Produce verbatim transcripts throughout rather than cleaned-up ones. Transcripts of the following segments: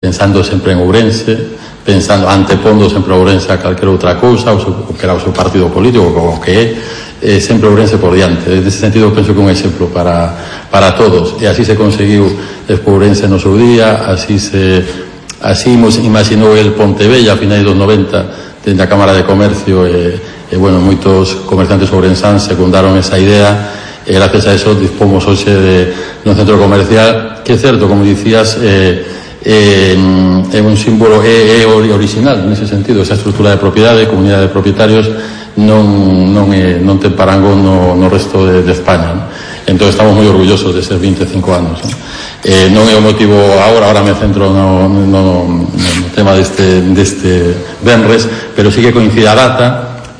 pensando sempre en Ourense, pensando, antepondo sempre Ourense a calquera outra cousa, o, seu, o que era o seu partido político, o que é, eh, sempre Ourense por diante. Nese sentido, penso que é un exemplo para, para todos, e así se conseguiu Expo Ourense no seu día, así se así imaginou el Pontevella a finais dos noventa, dende a Cámara de Comercio, e, e bueno, moitos comerciantes ourensáns secundaron esa idea, e gracias a eso dispomos hoxe de, de un centro comercial que é certo, como dicías, eh, é eh, un símbolo é, é original nese sentido, esa estrutura de propiedade, comunidade de propietarios non, non, é, non ten parangón no, no resto de, de España, ¿no? Entón estamos moi orgullosos de ser vinte e cinco anos, ¿no? Eh, non é o motivo agora, agora me centro no, no, no tema deste, deste venres, pero sí que coincide a data.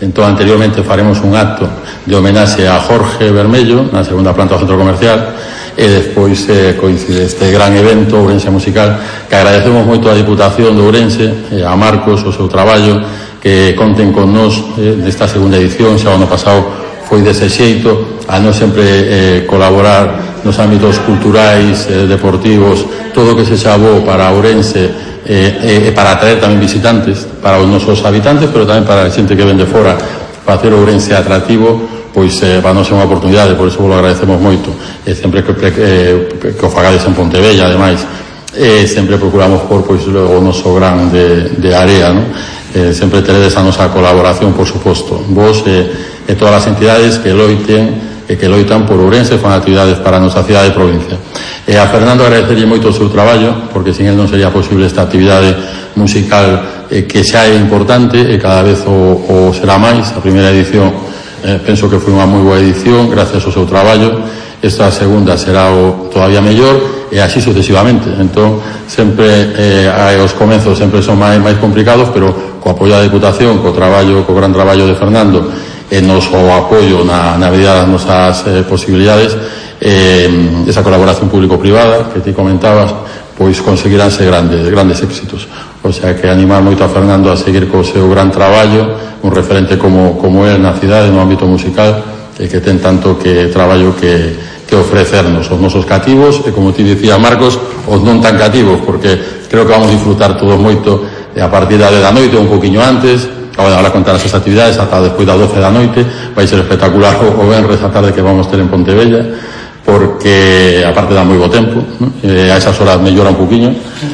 Entón anteriormente faremos un acto de homenaxe a Jorge Bermello na segunda planta do centro comercial, e despois eh, coincide este gran evento Ourense Musical, que agradecemos moito a Diputación de Ourense, eh, a Marcos, o seu traballo, que conten con nós eh, desta segunda edición. Xa o ano pasado foi dese xeito, a non sempre eh, colaborar nos ámbitos culturais, eh, deportivos, todo o que se xabou para Ourense, e eh, eh, para atraer tamén visitantes, para os nosos habitantes, pero tamén para a xente que ven de fora, para hacer Ourense atractivo, pois eh, para non ser unha oportunidade, por iso vos lo agradecemos moito, e sempre que, eh, que o fagades en Pontevella, ademais, e sempre procuramos por pois o noso gran de, de área, ¿no? Eh, sempre teredes a nosa colaboración, por suposto, vos e, eh, todas as entidades que loiten e que loitan por Ourense, fan actividades para a nosa cidade e provincia. E a Fernando agradecerlle moito o seu traballo, porque sin el non sería posible esta actividade musical eh, que xa é importante e cada vez o, o será máis. A primeira edición Eh, penso que foi unha moi boa edición gracias ao seu traballo. Esta segunda será o todavía mellor, e así sucesivamente. Entón sempre eh, os comenzos sempre son máis, máis complicados, pero co apoio da Diputación, co traballo, co gran traballo de Fernando, e nos o apoio na, na medida das nosas eh, posibilidades, eh, esa colaboración público-privada que ti comentabas, pois conseguiránse grandes, grandes éxitos. O sea que animar moito a Fernando a seguir co seu gran traballo, un referente como, como él na cidade, no ámbito musical, e que ten tanto que traballo que, que ofrecernos os nosos cativos, e como ti dicía Marcos, os non tan cativos, porque creo que vamos a disfrutar todos moito a partir da dez da noite, un poquinho antes, agora contar as actividades ata despois das doce da noite. Vai ser espectacular o, o venres a tarde que vamos ter en Pontevella, porque aparte dá moi bo tempo, ¿no? E a esas horas mellora un poquinho.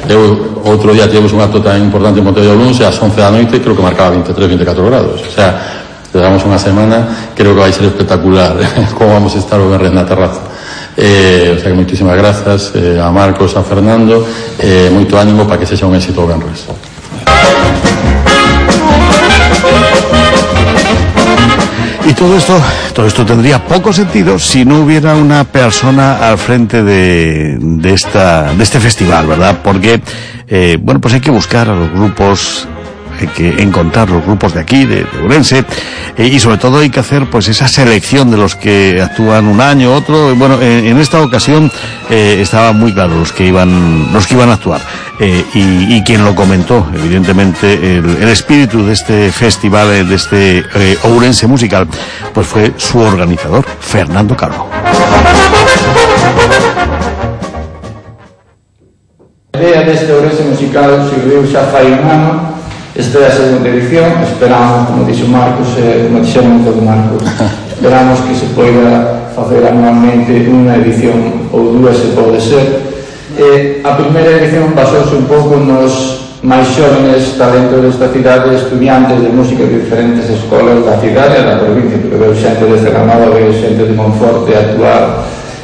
Eu, outro día tivemos un acto tan importante en Pontevella Luns, e ás once da noite creo que marcaba vinte e tres, vinte e catro grados. O sea, te damos unha semana, creo que vai ser espectacular como vamos a estar o venres na terraza. Eh, o sea que moitísimas grazas eh, a Marcos, a Fernando, eh, moito ánimo para que sexa un éxito o venres. Y todo esto, todo esto tendría poco sentido si no hubiera una persona al frente de, de esta, de este festival, ¿verdad? Porque, eh, bueno, pues hay que buscar a los grupos, hay que encontrar los grupos de aquí, de, de Ourense, eh, y sobre todo hay que hacer pues esa selección de los que actúan un año, otro. Bueno, en, en esta ocasión eh, estaba muy claro los que iban, los que iban a actuar. Eh, y, y quien lo comentó, evidentemente, el, el espíritu de este festival, de este eh, Ourense Musical, pues fue su organizador, Fernando Calvo. A idea deste Ourense Musical surgiu xa fai un ano. Esta é a segunda edición. Esperamos, como dixo Marcos, eh, como dixeron todo Marcos, esperamos que se poida facer anualmente unha edición ou dúas, se pode ser. Eh, a primeira edición basouse un pouco nos máis xóvenes talentos desta cidade, estudiantes de música de diferentes escolas da cidade e da provincia, porque veo xente de Cerranova, veo xente de Monforte a actuar.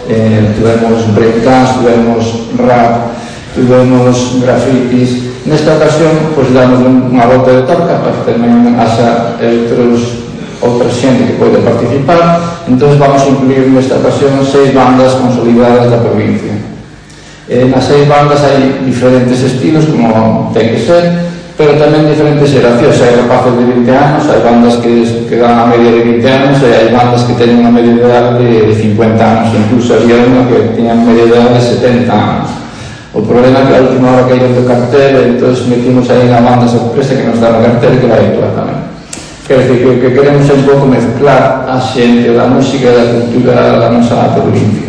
Eh, tuvemos breakdance, tuvemos rap, tuvemos grafitis. Nesta ocasión, pois, damos unha volta de torca para que tamén haxa outros, outra xente que pode participar. Entón vamos a incluir nesta ocasión seis bandas consolidadas da provincia. Eh, nas seis bandas hai diferentes estilos, como ten que ser, pero tamén diferentes xeracións. Hai rapaces de vinte anos, hai bandas que, que dan a media de vinte anos, e hai bandas que teñen unha media de edad de, de cincuenta anos, incluso había unha que teñan media de edad de setenta anos. O problema é que a última hora caíron do cartel, e entón metimos aí na banda sorpresa que nos dá no cartel, que vai actuar tamén. Quer dizer, que o que queremos é un pouco mezclar a xente da música e da cultura da nosa provincia.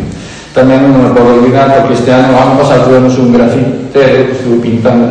tamén non me podo olvidar porque este ano, ano pasado, tuvemos un grafitero que estuvo pintando